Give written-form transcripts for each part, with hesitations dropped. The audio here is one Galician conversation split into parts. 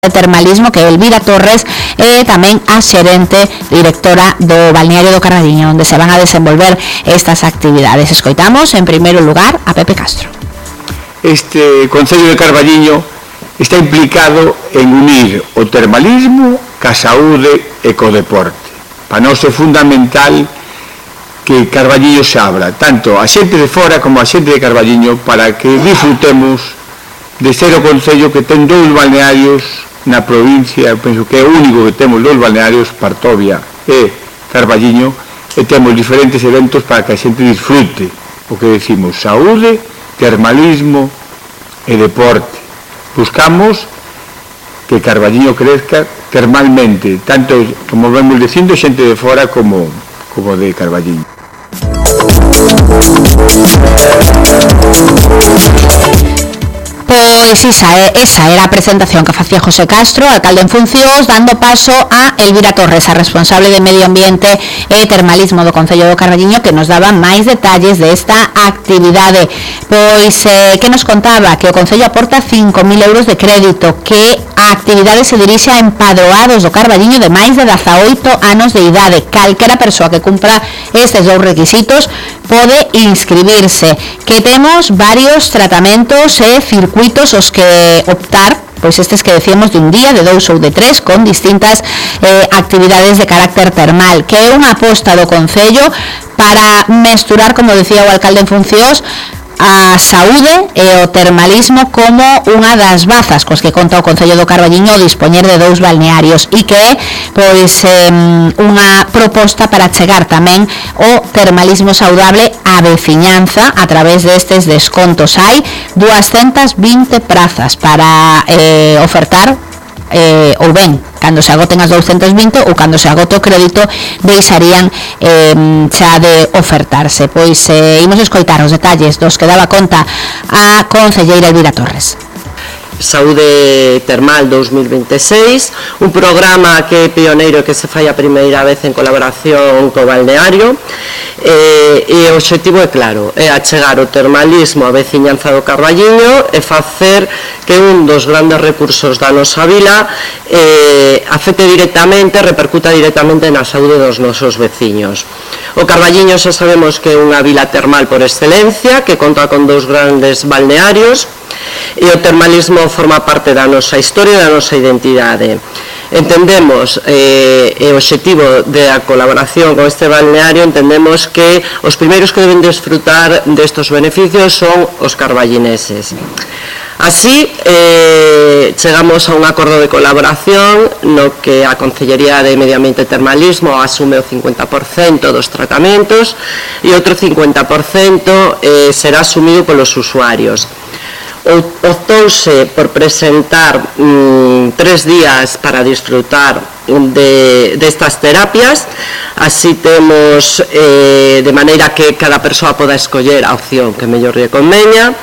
de termalismo, que é Elvira Torres, e tamén a xerente directora do balneario do Carballiño, onde se van a desenvolver estas actividades. Escoitamos en primeiro lugar a Pepe Castro. Este Concello de Carballiño está implicado en unir o termalismo ca saúde e co deporte. Para nós é fundamental que Carballiño se abra, tanto a xente de fora como a xente de Carballiño, para que disfrutemos de ser o Concello que ten dous balnearios na provincia. Penso que é o único que temos dous balnearios, Partovia e Carballiño, e temos diferentes eventos para que a xente disfrute o que decimos, saúde, termalismo e deporte. Buscamos que Carballiño crezca termalmente, tanto, como vemos dicindo, xente de fora como de Carballiño. Pois esa era a presentación que facía José Castro, alcalde en funcións, dando paso a Elvira Torres, a responsable de Medio Ambiente e Termalismo do Concello do Carballiño, que nos daba máis detalles desta actividade. Pois que nos contaba que o Concello aporta 5.000 euros de crédito, que a actividade se dirixe a empadroados do Carballiño de máis de 18 anos de idade. Calquera persoa que cumpra estes dous requisitos pode inscribirse, que temos varios tratamentos e circuitos os que optar, pois estes que decíamos de un día, de 2 ou de 3, con distintas actividades de carácter termal, que é unha aposta do Concello para mesturar, como decía o alcalde en funcións, a saúde e o termalismo como unha das bazas cos que conta o Concello do Carballiño dispoñer de dous balnearios, e que é pois unha proposta para chegar tamén o termalismo saudable á veciñanza a través destes descontos. Hai 220 prazas para ofertar, ou ben, cando se agoten as 220 ou cando se agote o crédito, deixarían xa de ofertarse. Pois imos escoitar os detalles dos que daba conta a concelleira Elvira Torres. Saúde Termal 2026, un programa que é pioneiro, que se fai a primeira vez en colaboración co balneario, e o obxectivo é claro, é achegar o termalismo á veciñanza do Carballiño e facer que un dos grandes recursos da nosa vila afecte directamente, repercuta directamente na saúde dos nosos veciños. O Carballiño xa sabemos que é unha vila termal por excelencia, que conta con dous grandes balnearios, e o termalismo forma parte da nosa historia e da nosa identidade. Entendemos, o obxectivo da colaboración con este balneario, entendemos que os primeiros que deben desfrutar destos beneficios son os carballineses. Así, chegamos a un acordo de colaboración no que a Concellería de Medio Ambiente e Termalismo asume o 50% dos tratamentos e outro 50% será asumido polos usuarios. Optouse por presentar 3 días para disfrutar destas terapias, así temos de maneira que cada persoa poda escoller a opción que mellor lle conveña.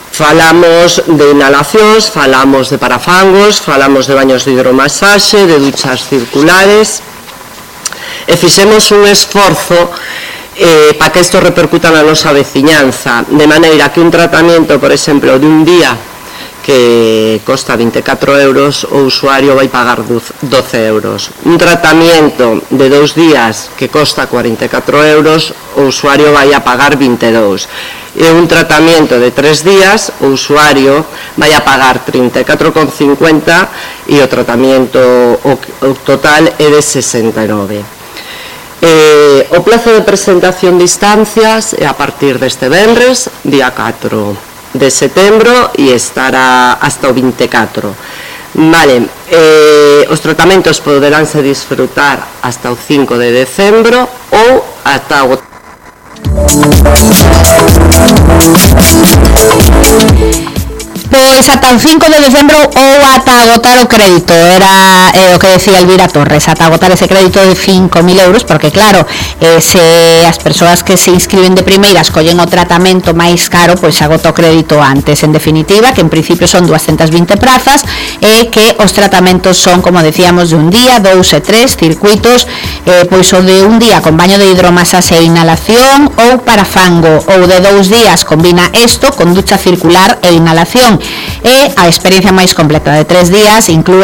Falamos de inhalacións, falamos de parafangos, falamos de baños de hidromasaxe, de duchas circulares, e fixemos un esforzo para que isto repercuta na nosa veciñanza, de maneira que un tratamento, por exemplo, de un día que costa 24 euros, o usuario vai pagar 12 euros. Un tratamento de 2 días que costa 44 euros, o usuario vai a pagar 22. E un tratamento de 3 días, o usuario vai a pagar 34,50 e o tratamento o total é de 69. O plazo de presentación de instancias é a partir deste venres, día 4 de setembro, e estará hasta o 24. Vale, os tratamentos poderánse disfrutar hasta o 5 de decembro ou ata o... Pois ata o 5 de decembro ou ata agotar o crédito, era o que decía Elvira Torres, ata agotar ese crédito de 5.000 euros, porque claro, se as persoas que se inscriben de primeira escollen o tratamento máis caro, pois agota o crédito antes. En definitiva, que en principio son 220 prazas, e que os tratamentos son, como decíamos, de un día, 2 e 3 circuitos pois o de un día con baño de hidromasas e inhalación ou para fango, ou de 2 días combina isto con ducha circular e inhalación, e a experiencia máis completa de 3 días inclúe